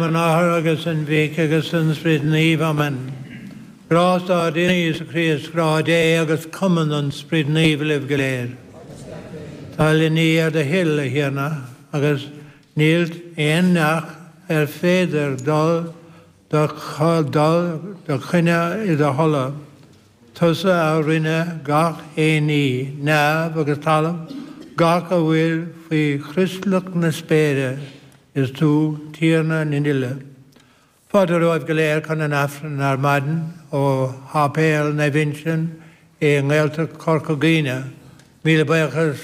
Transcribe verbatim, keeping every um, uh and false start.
An Athar agus an Mhic agus an Spioraid Naoimh Amen. Grásta ár dTiarna Íosa Críost grá Dé agus cumann an Spioraid Naoimh libh go léir. Tá le ní ar do thoil a Thiarna agus níl aon neach ar féidir dul do dul do choinne i do thola. Tusa a rinne gach aon ní, neamh agus talamh, gach a bhfuil faoi chrioslach na spéire is tú Tiarna na n-uile. Fáilte romhaibh go léir chun an Aifrinn ar maidin ó Shéipéal Naomh Uinseann i nGaeltacht Chorca Dhuibhne. Míle buíochas